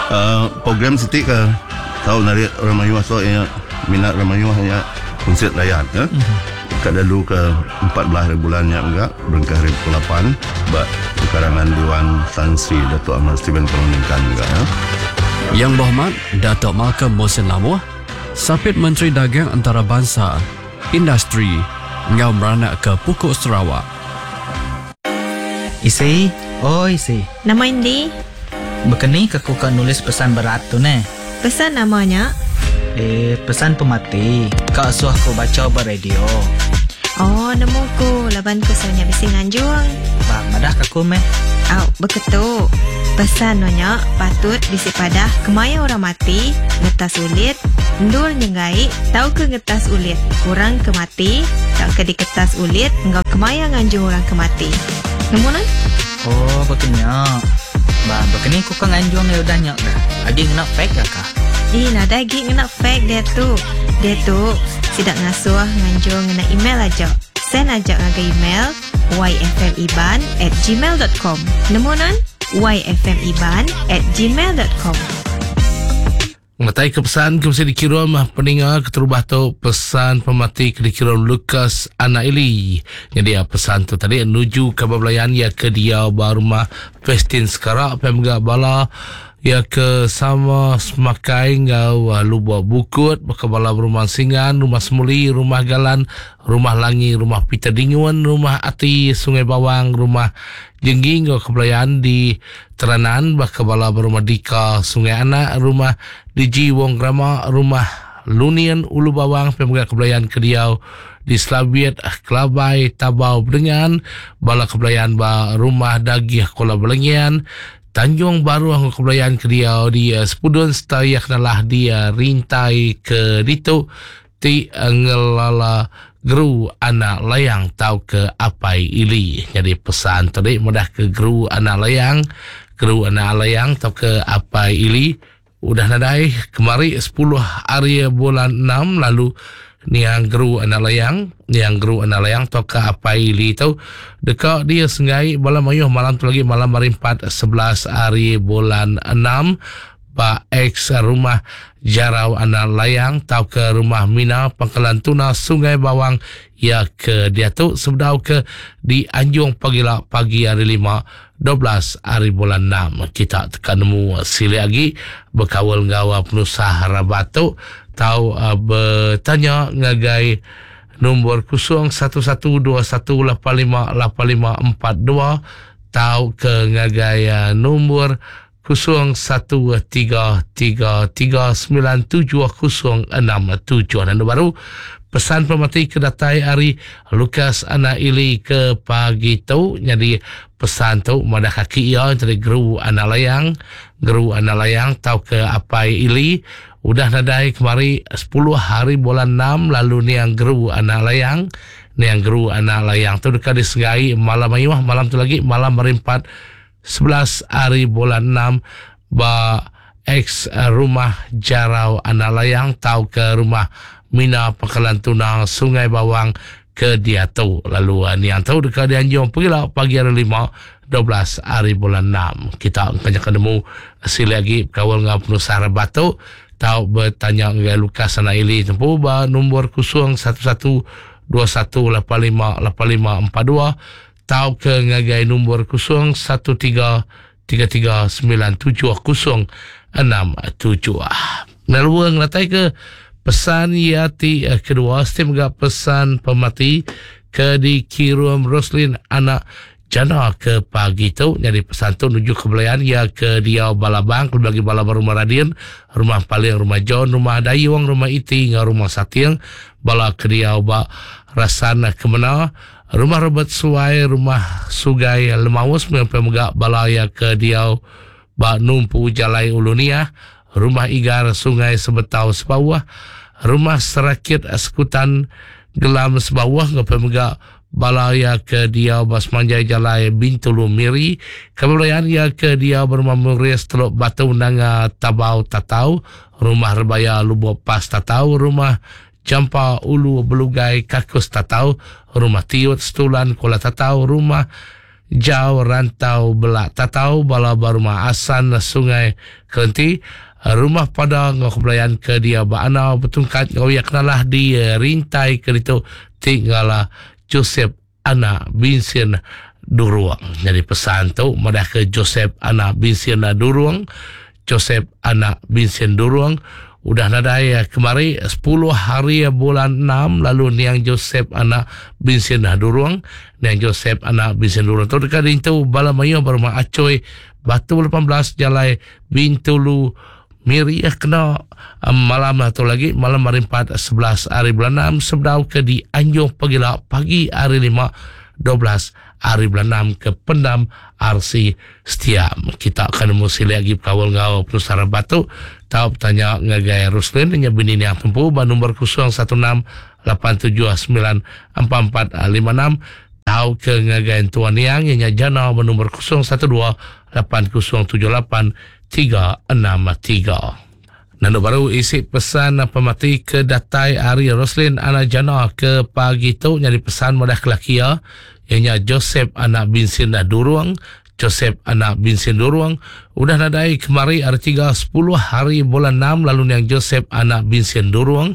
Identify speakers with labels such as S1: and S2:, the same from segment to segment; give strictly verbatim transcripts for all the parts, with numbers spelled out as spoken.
S1: Uh, program siti ke tau narik orang mayuh so ya minat orang mayuh ya konsert rakyat ya. Mm-hmm. Kat lalu ke empat belas hari bulan nya juga berengkah hari pukul lapan ba pekarangan Dewan Tan Sri Datuk Ahmad Stephen Kalong Ningkan juga ya.
S2: Yang Berhormat Datuk Malcolm Mussen Lamoh, Sapit Menteri Dagang Antarabangsa, Industri ngau meranak ke Pukuk Sarawak.
S3: Isi, oi isi.
S4: Nama Indi?
S3: Bekeni ke ku ka nulis pesan berat tu ne?
S4: Pesan namanya?
S3: Eh, pesan pemati. Kak suah ku baca ba radio.
S4: Oh, nemu ku laban ku sonya bisi nganjung.
S3: Bang, madah ka ku meh.
S4: Au, beketu. Pesan nonya patut bisi padah kemaya orang mati, ngetas ulit, endul nyenggai, tau ke ngetas ulit. Orang ke mati, tau ke diketas ulit, enggau kemaya nganjung orang ke mati. Nemu nan?
S3: Oh, betulnya. Bang, bekeni ku ka nganjung ya udah nyak dah. Agi ngena fake ke kah?
S4: Ih, nadai agi ngena fake dia tu. Dia tu sidak ngasuh nganjung ngena email aja. Send aja ngagai email y f m iban at gmail dot com. Nemu nan? y f m iban at gmail dot com.
S5: Mengatai ke pesan ke mesti dikirim peninga keterubah tu pesan pemati ke dikirim Lucas Anak Ili. Jadi pesan tu tadi menuju ke belayan ya ke dia ba rumah Festin Sekarak pemga bala ya ke sama semakai ngau lubuk bukut baka bala rumah Singan, rumah Semuli, rumah Galan, rumah Langi, rumah Peter Dingun, rumah Ati Sungai Bawang, rumah Jenggi ngau kebelayan di Teranan baka bala rumah Dika Sungai Anak, rumah Diji Wong Grama, rumah Lunian Ulu Bawang pemga kebelayan ke diau di Slabiet Kelabai Tabau Bedengan, bala kebelayan ba rumah Dagih Kuala Belengian, Tanjung Baru ngau kebelayan ke diau di uh, Sepudun serta kenalah di uh, Rintai ke ditu ti uh, ngelala geru anak layang tau ke apai ili. Jadi pesan tadi mudah ke geru anak layang, geru anak layang tau ke apai ili udah nadai kemari sepuluh hari bulan enam lalu niang geru anak layang, niang geru anak layang tau ke apai ili tu dekat dia senggai bala mayuh malam tu lagi malam hari empat sebelas hari bulan enam ba ex rumah Jarau anak layang tau ke rumah Mina Pangkalan Tuna Sungai Bawang ya ke dia tu sebedau ke di Anjung pagi la pagi hari lima dua belas hari bulan enam. Kita tekan nemu sili lagi berkawal ngau penusah rabat tu tau uh, bertanya ngagai nombor kosong satu satu dua satu lapan lima lapan lima empat dua tau ke ngagai uh, nombor kosong satu tiga tiga tiga sembilan tujuh kosong enam tujuh. Dan baru pesan pemati kedatai hari Lukas Anak Ili ke pagi tu. Jadi pesan tu madah kaki ia dari geru anak layang, geru anak layang tau ke apai Ili udah nadai kemari sepuluh hari bulan enam lalu niang geru anak layang, niang geru anak layang tu dekat disegai malam ayuh malam tu lagi malam hari empat sebelas hari bulan enam ba ex rumah Jarau anak layang tau ke rumah Mina Pangkalan Tuna Sungai Bawang ke dia tu. Lalu niang tu dekat dianjung pergilah pagi hari lima dua belas hari bulan enam. Kita akan ketemu sili lagi kawal ngau penusah batu tau bertanya dengan Lukas Anak Ili tempu ba nombor kosong satu satu dua satu lapan lima lapan lima empat dua tau ke ngagai nombor kosong satu tiga tiga tiga sembilan tujuh kosong enam tujuh. Lalu ngelatai ke pesan ya ti kedua setiap juga pesan pemati ke dikirim Roslin anak Jana ke pagi tu. Jadi pesan tu menuju ke belayan ya ke dia Balabang, bagi Balabang rumah Radin, rumah Paling, rumah John, rumah Dayung, rumah Iti, ngau rumah Satiang, bala ke dia ba Rasan Kemena, rumah Robert Suai, rumah Sugai Lemaus, sampai megak bala ya ke dia ba Numpu Jalai Ulunia, rumah Igar Sungai Sebetau Sebawah, rumah Serakit Sekutan Gelam Sebawah, sampai megak balaya ke dia bas manjai jalai Bintulu Miri, kemudian ya ke dia berumah Muris Teluk Batu Nanga Tabau Tatau, rumah Rebaya Lubuk Pas Tatau, rumah Jampa Ulu Belugai Kakus Tatau, rumah Tiut Setulan Kuala Tatau, rumah Jau Rantau Belak Tatau, bala ba rumah Asan Sungai Kelenti, rumah pada ngau kebelayan ke dia ba anau betungkat ngau ia kenalah di rintai ke ditu tinggalah Joseph anak Vincent Duruang. Jadi pesan tu madah ke Joseph anak Vincent Duruang, Joseph anak Vincent Duruang udah nadai kemari sepuluh hari bulan enam, lalu niang Joseph anak Vincent Duruang, niang Joseph anak Vincent Duruang tu dekat dintu bala mayuh berumah Acoy Batu lapan belas Jalai Bintulu Miri kena malam atau lagi malam hari empat sebelas hari bulan enam sebedau ke di Anjung Pagila pagi hari lima dua belas hari bulan enam ke Pendam R C Setiam. Kita akan mesti lagi kawal ngau Penusara Batu tau bertanya ngagai Ruslin nya bini yang tempu ba nombor kosong satu enam lapan tujuh sembilan empat empat lima enam tau ke ngagai Tuan Yang nya jana ba nombor kosong satu dua lapan kosong tujuh lapan tiga enam tiga. Nando baru isi pesan pemati ke datai Ari Roslin anak jana ke pagi tu nyari pesan madah kelakia ianya Joseph anak Vincent Duruang, Joseph anak Vincent Duruang udah nadai kemari hari tiga sepuluh hari bulan enam, lalu niang Joseph anak Vincent Duruang,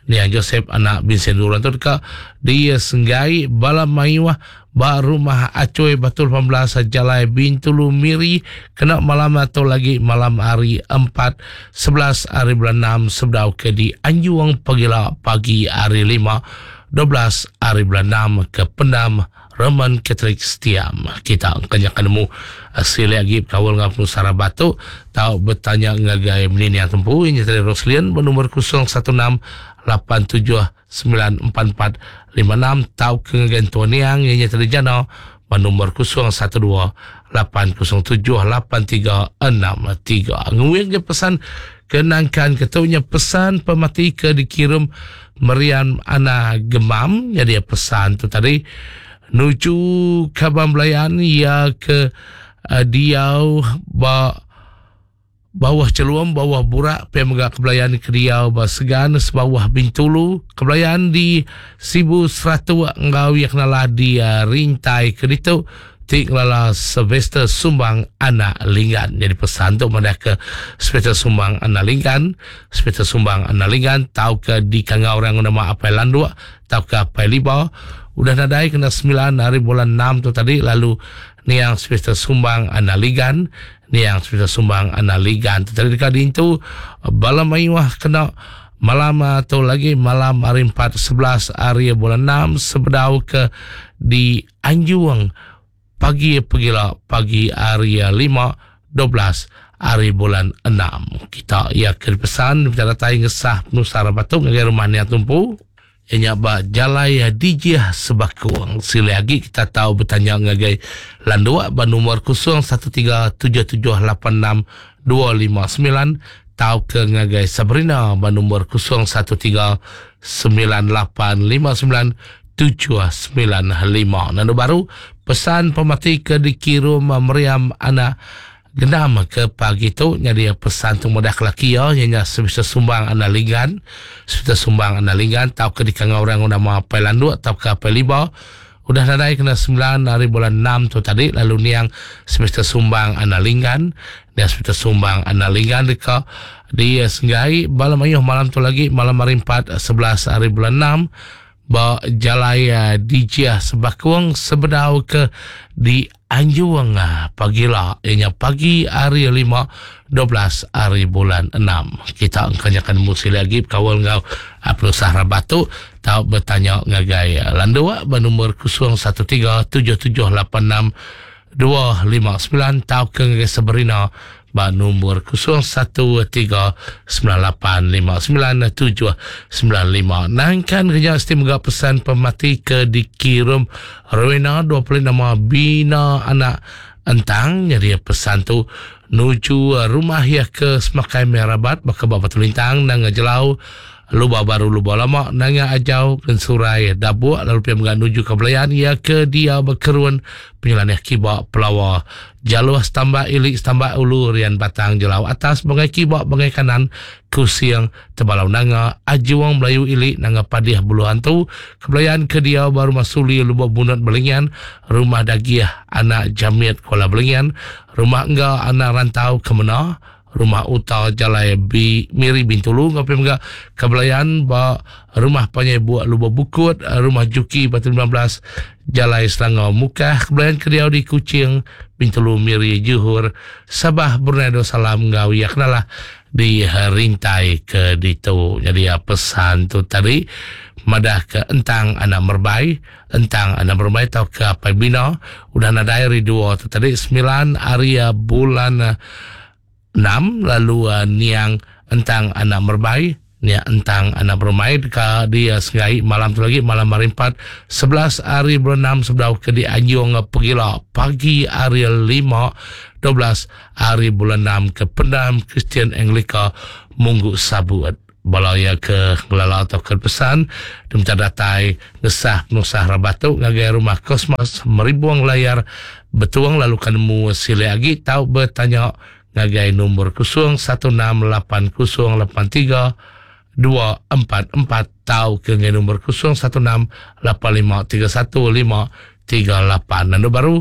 S5: niang Joseph anak Vincent Duruang tu dekat dia senggai bala mayuah ba rumah Acoy Batu lapan belas Jalai Bintulu Miri kena malam atau lagi malam hari empat sebelas hari bulan enam sebedau ke di Anjuang Pagila pagi hari lima dua belas hari bulan enam ke Pendam Roman Catholic Setiam. Kita kenyakan nemu sila lagi kawal ngau Penusara Batu tau bertanya ngagai menini yang tempu ini tadi Roslin bernomor kosong satu enam lapan tujuh sembilan empat empat lima enam tau ke ngagai Tuan Yang ini tadi jana bernomor kosong satu dua lapan kosong tujuh lapan tiga enam tiga. Nguing je pesan kenangkan ketunya pesan pemati ke dikirim Meriam Ana Gemam. Jadi pesan tu tadi nuju Kabang Belayan ia ke uh, diau ba bawah celuam bawah burak pe megak kebelayan ke diau ba segan sebawah Bintulu kebelayan di Sibu Seratu ngau yang kenalah di uh, rintai ke ditu tik lala Sylvester Sumbang anak Linggan. Jadi pesan tu madah ke Sylvester Sumbang anak Linggan, Sylvester Sumbang anak Linggan tau ke di kangau orang nama Apai Landuk tau ke Apai Liba udah nadai kena sembilan hari bulan enam tu tadi, lalu niang Sylvester Sumbang anak Ligan, niang Sylvester Sumbang anak Ligan tu tadi dekat itu bala mayuah kena malam atau lagi malam hari empat sebelas hari bulan enam sebedau ke di Anjuang pagi pegila pagi hari lima dua belas hari bulan enam. Kita ia ke pesan kita datai ngesah Penusara Batu ngagai rumah niang tumpu ianya ba jalai dijih sebakuang. Sila lagi kita tahu bertanya ngagai landua ba nomor kosong satu tiga tujuh tujuh lapan enam dua lima sembilan tau ke ngagai Sabrina ba nomor kosong satu tiga sembilan lapan lima sembilan tujuh sembilan lima. Nando baru pesan pemati ke dikirim Meriam anak Genam ke pagi tu jadi pesan tu mudah kelaki ya ianya sebisa Sumbang anak Linggan, sebisa Sumbang anak Linggan tau ke dikangau orang nama Apai Landuk tau ke Apai Liba udah nadai kena sembilan hari bulan enam tu tadi, lalu niang semester Sumbang anak Linggan, niang semester Sumbang anak Linggan dekat di Senggai bala mayuh malam tu lagi malam hari empat sebelas hari bulan enam ba jalai dijia sebakuang sebedau ke di Anjuang pagila ianya pagi hari lima dua belas hari bulan enam. Kita engkanyakan musim lagi kawal ngau Penusara Batu tau bertanya ngagai landua bernomor kosong satu tiga tujuh tujuh lapan enam dua lima sembilan tau ke ngagai Sabrina ba nombor kosong satu tiga sembilan lapan lima sembilan tujuh sembilan lima. Nangkan kerja mesti mega pesan pemati ke dikirim Rowena dua puluh nama Bina anak Entang. Jadi pesan tu Nuju rumah ya ke Semakai Merabat baka Batu Lintang nanga Jelau Luba Baru Luba Lama nanga Ajau Kensurai Dabuk lalu pia mega nuju ke Belayan ya ke dia berkerun penyelaneh kiba Pelawa Jaluh Setambak Ilik Setambak Ulu Rian Batang Jelau Atas Bangai Kiba Bangai Kanan Kusing Tebalau Nanga Ajuang Melayu Ilik Nanga Padih Bulu Hantu Kebelayan ke dia baru Masuli Lubuk Bunut Belingan Rumah Dagiah Anak Jamit Kuala Belingan Rumah Engga Anak Rantau Kemena Rumah Uta Jalai B, Miri Bintulu ngapai mega Kebelayan ba Rumah Panyai Buak Lubuk Bukut Rumah Juki Batu lima belas Jalai Selangor Mukah Kebelayan ke diau di Kuching Bintulu Miri Johor Sabah Brunei Darussalam ngau ya kenalah di rintai ke ditu. Jadi pesan tu tadi madah ke entang anak merbai entang anak merbai tau ke apai bina udah nadai hari dua tu tadi sembilan hari bulan enam lalu uh, niang entang anak merbai niang entang anak merbai ka dia sengai malam tu lagi malam hari empat sebelas hari bulan enam sebelum ke di Anjung Pegila pagi hari lima dua belas hari bulan enam ke Pendam Kristian Anglika Munggu Sabut. Balaya ke ngelala atau ke pesan diminta datai ngesah penusah rabatu ngagai rumah Kosmos Meribuang Layar Betuang lalu kanemu sile agi tau bertanya ngagai nombor kosong satu enam lapan kosong lapan tiga dua empat empat tau ke ngagai nombor kosong satu enam lapan lima tiga satu lima tiga lapan. Lalu baru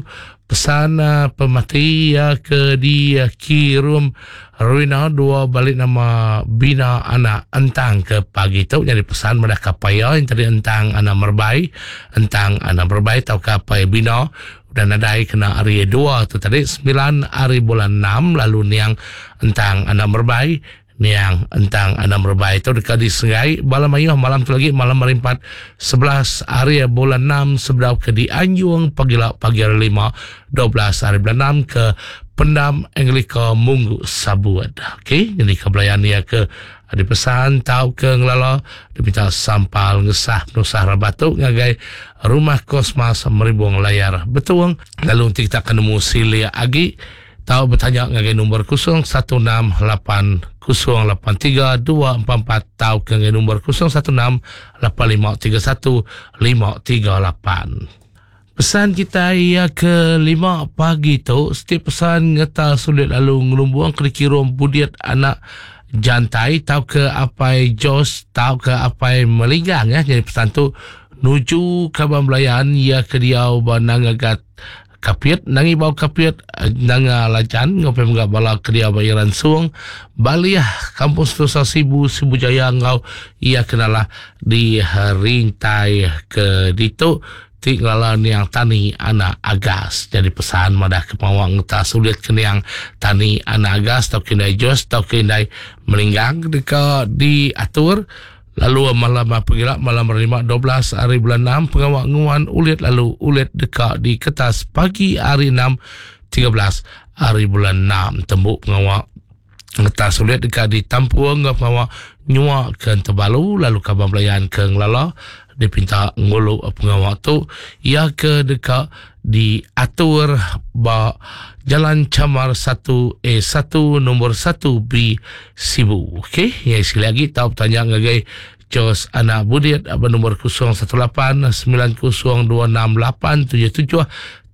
S5: pesan uh, pemati uh, ke di uh, Kirum Ruina dua balik nama Bina Anak Entang ke pagi tu. Jadi pesan madah kapaya yang tadi entang anak merbai entang anak merbai tau kapai Bina dan nadai kena hari dua tu tadi sembilan hari bulan enam lalu niang entang anak merbai niang entang anak merbai itu dekat di Sengai Bala Mayuh malam tu lagi malam hari empat sebelas hari bulan enam sebelum ke di Anjung pagi pagi hari lima dua belas hari bulan enam ke Pendam Anglika Munggu Sabut. Okey, jadi kebelayan dia ke ada pesan tau ke ngelala diminta sampal ngesah penusah rabatu ngagai rumah Kosmas Meribuang Layar Betuang lalu nanti kita akan nemu silia agi tau bertanya ngagai nombor kosong satu enam lapan kosong lapan tiga dua empat empat tau ke ngagai nombor kosong satu enam lapan lima tiga satu lima tiga lapan. Pesan kita ia ke lima pagi tu setiap pesan ngeta sulit lalu ngelumbuang ke kirum budiat anak jantai tau ke apai Jos tau ke apai Melinggang ya. Jadi pesan tu nuju kaban belayan ia ke diau banangagat Kapiat nangi bau kapiat nanga lajan ngopi menggak bala kedia bayaran suang baliah kampus Nusa Sibu Sibu Jaya ngau ia kenalah di rintai ke ditu tinggal niang tani anak agas. Jadi pesan madah ke pawang tak sulit ke niang tani anak agas tau kindai Jos tau kindai Melinggang dekat diatur. Lalu malam pegilak malam lima dua belas hari bulan enam pengawak nguan ulit lalu ulit dekat di kertas pagi hari enam tiga belas hari bulan enam tembuk pengawak ngetas ulit dekat di Tampuang pengawak nyua ke Tebalu lalu kaban belayan ke Ngelala dipinta ngulu pengawak tu ia ke dekat diatur ba Jalan Camar satu A satu nombor satu B Sibu. Okey, ya sekali lagi tahu bertanya ngagai Jos Anak Budiat nombor kosong satu lapan sembilan kosong dua enam lapan tujuh tujuh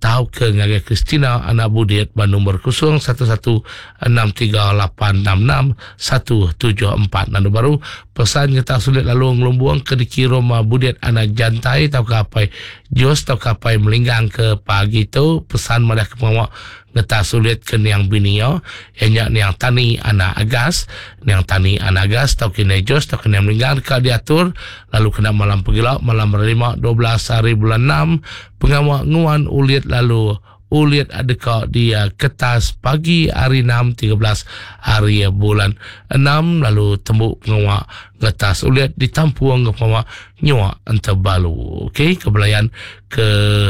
S5: tahu ke ngagai Christina Anak Budiat nombor kosong satu satu enam tiga lapan enam enam satu tujuh empat. Lalu baru pesan kita sulit lalu ngelumbuang ke dikirim Budiat Anak Jantai tau ke apai Jos tau ke apai Melinggang ke pagi tu pesan madah ke pengawak ngeta sulit ke niang binio ianya niang tani anak agas niang tani anak agas tau ke Jos tau ke niang Melinggang ke diatur lalu kena malam pegila malam lima dua belas hari bulan enam pengawak nguan ulit lalu ulit adeka di kertas pagi hari enam tiga belas hari bulan enam lalu tembuk pengawak ngetas ulit ditampuang ke pengawak nyua entebalu. Okey, kebelayan ke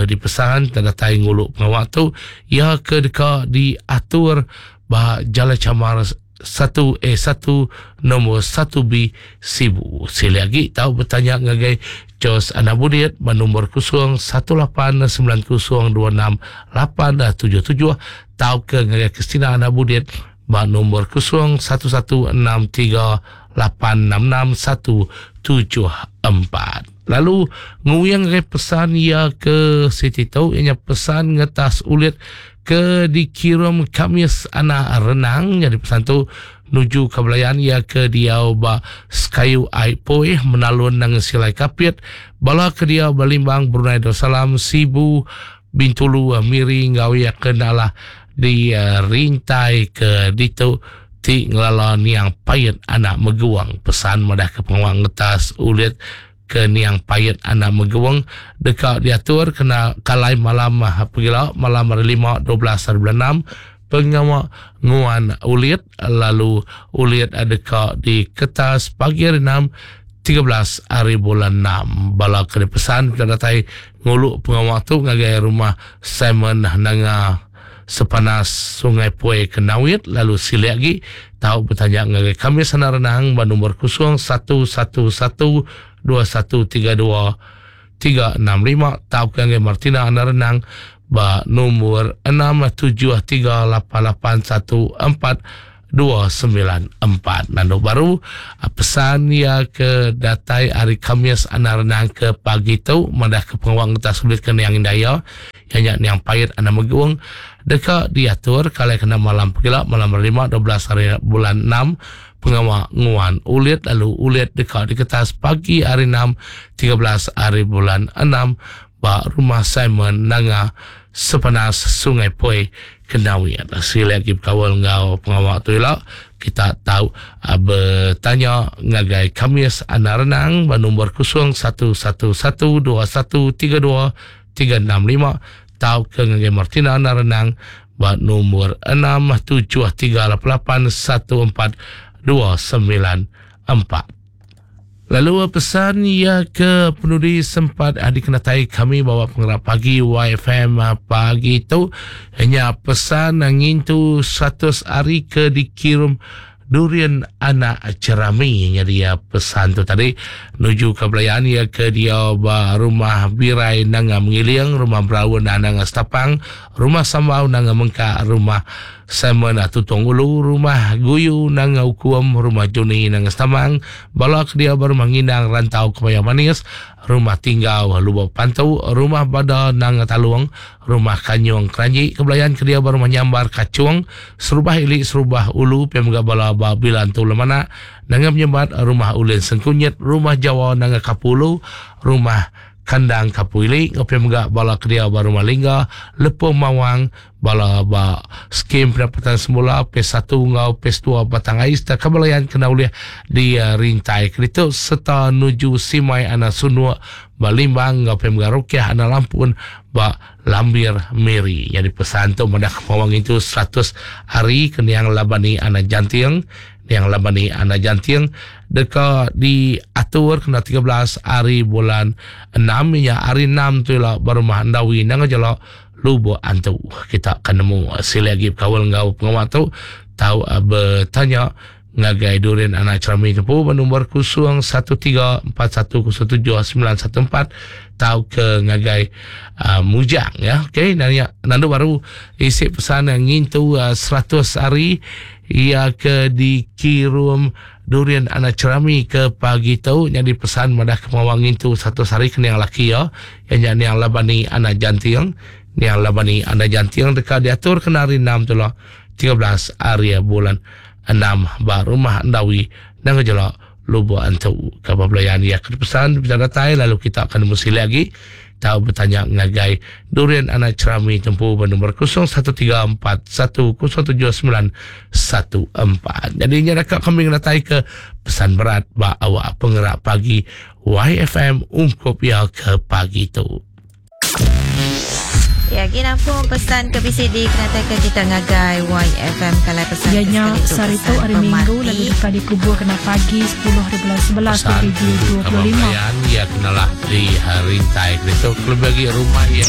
S5: dipesan tanda tai nguluk pengawak tu ia ke deka diatur bah Jalan Camar satu A satu nombor satu B Sibu. Sekali lagi tahu bertanya ngagai Jos Anak Budit bernombor kosong satu lapan sembilan kosong dua enam lapan tujuh tujuh tau ke ngagai Kristina Anak Budit bernombor kosong satu satu enam tiga lapan enam enam satu tujuh empat. Lalu nguyang ngagai pesan ia ke Siti tu ianya pesan ngetas ulit ke dikirim Kamis Anak Renang. Jadi pesan tu nuju ke belayan ia ke diau ba Sekayu Ai Poi menalun nang Silai Kapit bala ke dia Balimbang Brunei Darussalam Sibu Bintulu Miri ngau ia kenalah di uh, rintai ke ditu ti ngelala niang payet anak meguang. Pesan madah ke pengawang ngetas ulit ke niang payet anak meguang dekat diatur kena kalai malam pegila malam hari lima dua belas hari bulan enam pengawak nguan ulit lalu ulit dekat di kertas pagi hari enam tiga belas hari bulan enam. Bala kena pesan kita datai nguluk pengawak tu ngagai rumah Simon Nanga Sepanas Sungai Puai Kenawit. Lalu silik lagi tahu bertanya ngagai kami sana renang ba nombor kosong satu satu satu dua satu tiga dua tiga enam lima tahu ke ngagai Martina Ana Renang ba nombor enam tujuh tiga lapan lapan satu empat dua sembilan empat. Nando baru pesan ya ke datai hari Kamis Ana Renang ke pagi tu madah ke pengawang ngetas sulit ke niang indaya yang niang payet anak meguang dekat diatur kalau kena malam pegila malam lima dua belas hari bulan enam pengawak nguan ulit lalu ulit dekat di kertas pagi hari enam tiga belas hari bulan enam ba rumah Simon Nanga Sepanas Sungai Poi Kenawi. Sila lagi berkawal ngau pengawak tu elok kita tahu uh, bertanya ngagai Kamis Anak Renang ba nombor kosong satu satu satu dua satu tiga dua tiga enam lima tahu ke ngagai Martina Anak Renang ba nombor enam tujuh tiga lapan lapan satu empat dua sembilan empat. Lalu pesan ia ke penudi sempat dikenatai kami bawa penggerak pagi Y F M pagi itu hanya pesan ngintu seratus hari ke dikirim durian anak cerami. Jadi ya pesan tu tadi menuju ke belayan ya ke dia ba rumah Birai Nanga Mengiling, rumah Braun Nanga Setapang, rumah Sambau Nanga Mengka, rumah Simon Tutong Ulu, rumah Guyu Nanga Ukuam, rumah Juni Nanga Setamang, bala ke dia baru Mengindang Rantau Kebaya Manis, rumah Tinggal Lubuk Pantau, rumah Bada Nanga Taluang, rumah Kanyong Keranji, kebelayan ke dia baru Menyambar Kacung, Serubah Ilik Serubah Ulu, Pemga Bala Babilan Tu Lemana, Nanga Menyembat, rumah Ulin Sengkunyit, rumah Jawa Nanga Kapulu, rumah Kandang Kapuili, ngopi megak bala kedia baru Malingga, Lepung Mawang, bala ba skim pendapatan semula P satu ngau P dua Batang Ais dan kebelayan kena uliah di uh, rintai kereta serta nuju Simai Anak Sunua Balimbang ngau pemegak Rukiah Anak Lampun ba Lambir Miri. Jadi pesan tu madah kemawang itu seratus hari keniang labani anak jantiang yang labani anak jantiang dekat diatur kena tiga belas hari bulan enam ya hari enam tu lah baru mah andawi nang jelo lubuk antu. Kita akan nemu sila lagi kawal ngau pengawal tu tahu bertanya ngagai durian anak cerami tu bernombor kosong satu tiga empat satu kosong tujuh sembilan satu empat tahu ke ngagai uh, Mujang ya. Okey, nanya nandu baru isi pesan yang ngintu uh, seratus hari ia ke dikirim durian anak cerami ke pagi tu. Jadi pesan madah ke mawang itu satu hari kena yang laki ya yang yang labani anak jantiang yang labani anak jantiang dekat diatur kena hari enam tu lah tiga belas hari bulan enam ba rumah Andawi nang jelak Lubuk Antu. Khabar belayan ia ke pesan bisa datai lalu kita akan mesti lagi tahu bertanya ngagai durian anak cerami tempuh bernombor kosong satu tiga empat satu kosong tujuh sembilan satu empat. Jadi ini dekat kami datai ke pesan berat ba awak penggerak pagi Y F M ungkup ya ke pagi tu.
S4: Ya, gini pun pesan ke B C D kena ke kita ngagai Y F M kalau pesan
S6: ya, nya sehari tu hari Minggu lalu dekat dikubur kena pagi sepuluh hari bulan sebelas dua ribu dua puluh lima.
S5: Ya kenalah di hari tai itu lebih bagi rumah ya.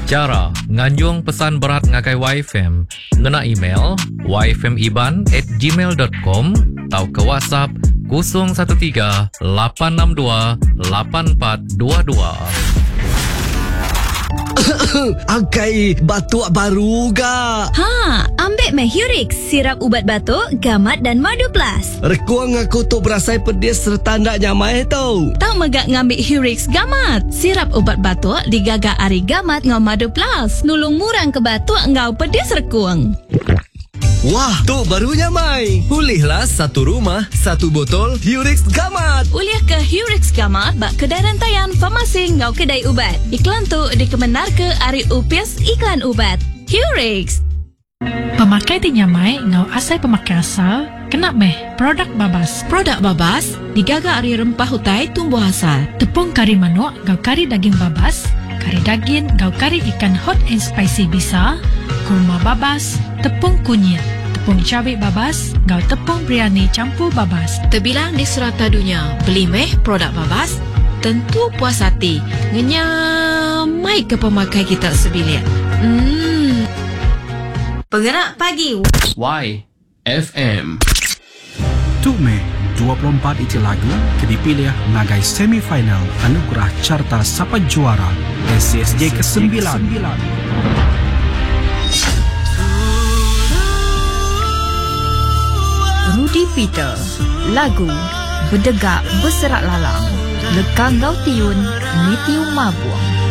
S7: Cara nganjung pesan berat ngagai Y F M ngena email y f m iban at gmail dot com atau ke WhatsApp kosong satu tiga, lapan enam dua, lapan empat dua dua.
S8: Angkai batuk baru ga.
S9: Ha, ambil meh Hurix, sirap ubat batuk, gamat dan madu plus.
S8: Rekuang aku tu berasai pedis serta ndak nyamai tau.
S9: Tau megak ngambil Hurix gamat. Sirap ubat batuk digaga ari gamat ngau madu plus. Nulung murang ke batuk ngau pedis rekuang.
S8: Wah, tu baru nyamai. Pulihlah satu rumah, satu botol Hurix Gamat.
S9: Ulih ke Hurix Gamat bak kedai rantaian farmasi ngau kedai ubat. Iklan tu dikemenar ke ari Upis Iklan Ubat. Hurix.
S6: Pemakai ti nyamai ngau asai pemakai asal, kena meh produk babas.
S10: Produk babas digaga ari rempah hutai tumbuh asal.
S6: Tepung kari manuk ngau kari daging babas, kari daging ngau kari ikan hot and spicy bisa, kurma babas, tepung kunyit, tepung cabai babas, ngau tepung biryani campur babas.
S10: Terbilang di serata dunia, beli meh produk babas, tentu puas hati. Ngenyamai ke pemakai kita sebilik. Hmm.
S4: Penggerak Pagi
S2: Y F M.
S11: Tu meh dua puluh empat iti lagu ke dipilih ngagai semifinal Anugerah Carta Sapa Juara S C S J kesembilan.
S12: Rudy Peter, lagu Bedegak Berserak Lalang, Lekang Gau Tiun, Nitiu Mabuang.